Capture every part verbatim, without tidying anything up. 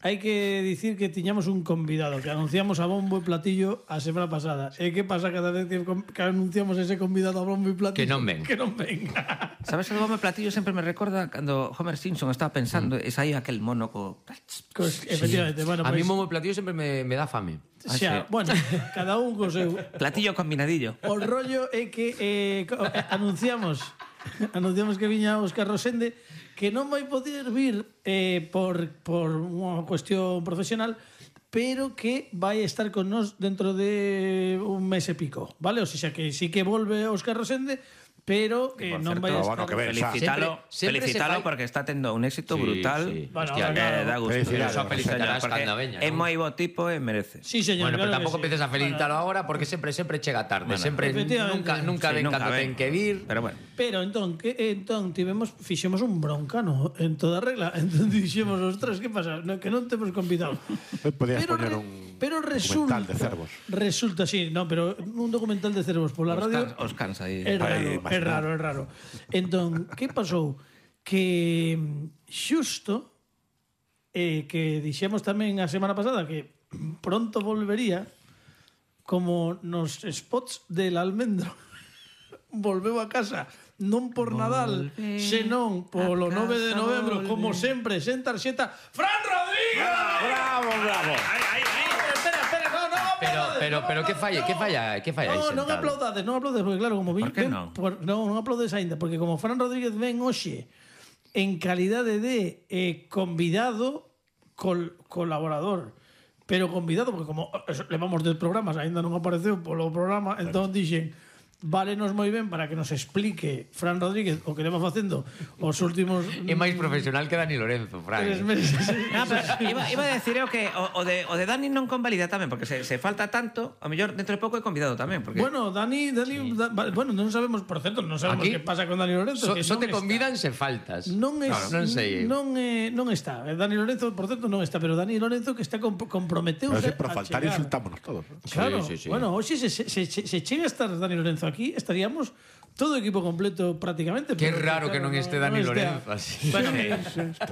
hai que dicir que tiñamos un convidado que anunciamos a bombo e platillo a semana pasada. E que pasa cada vez que, que anunciamos ese convidado a bombo e platillo? Que non ven. Que non ven. Sabes que o bombo e platillo sempre me recorda cando Homer Simpson estaba pensando mm. e saía aquel mono co... Pues, efectivamente, bueno, a pues, mí bombo e platillo sempre me, me dá fame. O sea, ah, sí. Bueno, cada un co seu. Platillo combinadillo. O rollo é que eh, anunciamos anunciamos que viña Óscar Rosende, que non vai poder vir eh, por, por unha cuestión profesional, pero que vai estar con nós dentro de un mes e pico, vale? O sea, que sí que volve Óscar Rosende, pero que non vai estar... Bueno, que ven, felicítalo, sempre, sempre felicítalo fai... porque está tendo un éxito sí, brutal. Sí. Bueno, hostia, claro, que da gusto. Eso felicitarás cando veña, é moi bo tipo e merece. Sí, señor, bueno, claro pero tampouco sí. empeces a felicitarlo bueno. ahora porque sempre sempre chega tarde, bueno, sempre nunca nunca sí, ven nunca cando ven. ten que vir. Pero bueno. Pero entón, que entón tivemos fixemos un broncano en toda regla. Entón dixemos, ostras, que pasa? No, que non temos convidado. Podías pero poñer re, un pero resulta, documental de cervos. Resulta, sí, no, pero un documental de cervos pola radio. Os cansa aí. É raro, é raro, é raro. Entón, que pasou? Que xusto eh, que dixemos tamén a semana pasada que pronto volvería como nos spots del Almendro volveu a casa non por Nadal, Volve senón polo nove de novembro, volve. Como sempre, sen tarxeta, Fran Rodríguez! Bravo, bravo! Ay, ay, ay, espera, espera, no, no, Pero pero pero que falla, que falla, que falla aí no, sentado. non aplaudades, non aplaudes, porque claro, como Por que non? Por, non, non aplaudes aínda, porque como Fran Rodríguez ven hoxe en calidade de eh, convidado col, colaborador, pero convidado, porque como eso, levamos dez programas, aínda non apareceu polo programa, entón dixen válenos moi ben para que nos explique Fran Rodríguez o que leva facendo os últimos... É máis profesional que Dani Lorenzo, Fran. Tres meses. No, pero iba, iba a decir eu que o, o, de, o de Dani non convalida tamén, porque se, se falta tanto, ao mellor dentro de pouco é convidado tamén. Porque... Bueno, Dani, Dani sí. da, bueno, non sabemos, por certo, non sabemos que pasa con Dani Lorenzo. So, que so te está. convidan se faltas. Non, es, claro, non sei. Non, eh, non está. Dani Lorenzo, por certo, non está, pero Dani Lorenzo que está comp comprometeuse pero por faltar chegar. insultámonos todos. ¿No? Claro, sí, sí, sí. Bueno, hoxe se, se, se, se chega a estar Dani Lorenzo aquí, estaríamos todo equipo completo prácticamente. Qué raro que non este Dani Lorenzo así. Bueno,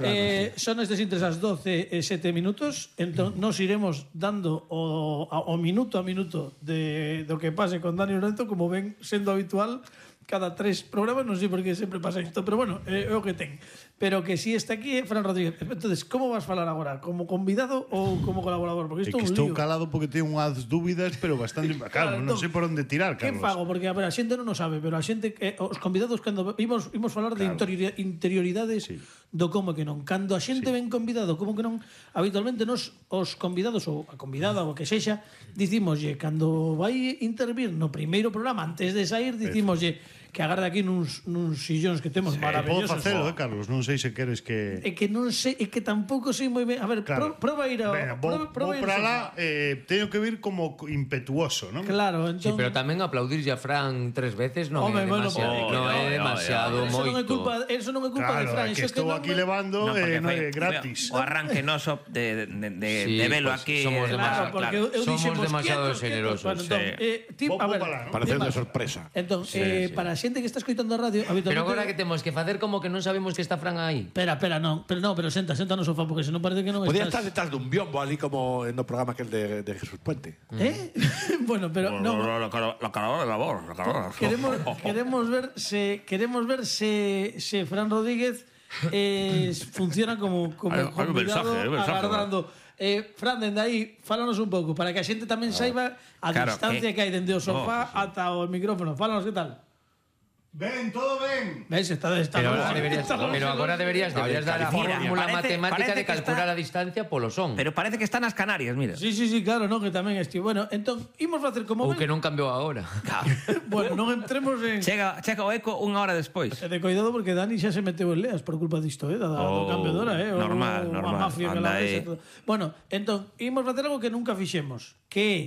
eh, son estes intres as doce e sete minutos, entón nos iremos dando o, o minuto a minuto de do que pase con Dani Lorenzo, como ven sendo habitual cada tres programas, non sei por que sempre pasa isto, pero bueno, é eh, o que ten. Pero que si está aquí é eh, Fran Rodríguez. Entonces, como vas falar agora? Como convidado ou como colaborador? Porque isto é que un estou lío. calado porque teño unhas dúbidas, pero bastante... Claro, claro non sei por onde tirar, Carlos. Que fago? Porque a, ver, a xente non o sabe, pero a xente, eh, os convidados, cando imos, imos falar claro. de interiori interioridades sí. do como que non. Cando a xente sí. ven convidado, como que non, habitualmente nos, os convidados, ou a convidada, ou que sexa, dicimoslle, cando vai intervir no primeiro programa, antes de sair, dicimoslle que agarda aquí nuns, nuns sillóns que temos sí, maravillosos. Podo facelo, eh, Carlos, non sei se queres que... É que non sei, é que tampouco sei moi ben. A ver, claro. pro, proba ir a... Venga, vou, proba, proba vou para lá, eh, teño que vir como impetuoso, non? Claro, entón... Sí, pero tamén aplaudirlle a Fran tres veces non é demasiado, bueno, non é demasiado eso moito. Non é culpa, eso non é culpa claro, de Fran, é que eso estou que aquí me... levando no, eh, no foi, é gratis. O arranque noso de, de, de, sí, de velo pues, aquí. Somos, claro, demasiado, porque claro. eu somos demasiado quietos, generosos. Bueno, entón, sí. eh, tipo, a ver, ¿no? Pareceu de sorpresa. Entón, sí, eh, sí. para a xente que está escoitando a radio, habitualmente... Pero agora que temos que facer como que non sabemos que está Fran aí. Espera, espera, non, pero non, pero senta, senta no sofá porque senón parece que non Podía estás... estar detrás dun biombo ali como no programa aquel de, de Jesús Puente. ¿Eh? bueno, pero non. La, la, la caravana de la voz, la caravana. Queremos queremos ver se queremos ver se se Fran Rodríguez eh, funciona como como hay, hay un mensaje, hay un mensaje, agardando. Eh, Fran, dende aí, fálanos un pouco para que a xente tamén saiba a claro, distancia que, que hai dende o sofá oh, sí. ata o micrófono. Fálanos, que tal? Ben, todo ben. Ves, está, está Pero no, agora deberías, está pero agora deberías, deberías dar a Mira, fórmula parece- matemática parece de que calcular está- a distancia polo son. Pero parece que está nas Canarias, mira. Sí, sí, sí, claro, no, que tamén esti. Bueno, entón, imos facer como Ou ven. que non cambiou agora. Bueno, non entremos en Chega, chega o eco unha hora despois. E de cuidado porque Dani xa se meteu en leas por culpa disto, eh, da, Oh, do cambio de hora, eh, normal, o, normal. a mafia que Anda la aí. ves e todo. Bueno, entón, imos facer algo que nunca fixemos, que é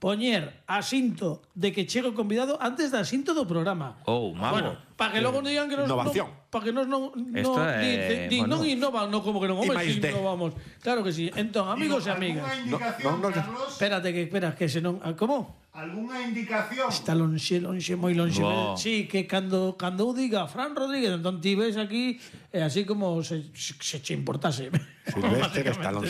poñer asinto de que chega o convidado antes da asinto do programa. Oh, mago. Bueno, para que logo non digan que nos Innovación. no, para que nos non Esto no, é, di, di, bueno. non innovan, no como que non, I home, máis si D. innovamos. Claro que sí. Entón, amigos e amigas. indicación, no, no, no. Carlos? Espérate que espera que se non, ah, como? Algúnha indicación? Está lonxe, lonxe, moi lonxe. Wow. Sí, que cando cando eu diga Fran Rodríguez, entón ti ves aquí, é así como se, se che importase. Silvestre Stallone.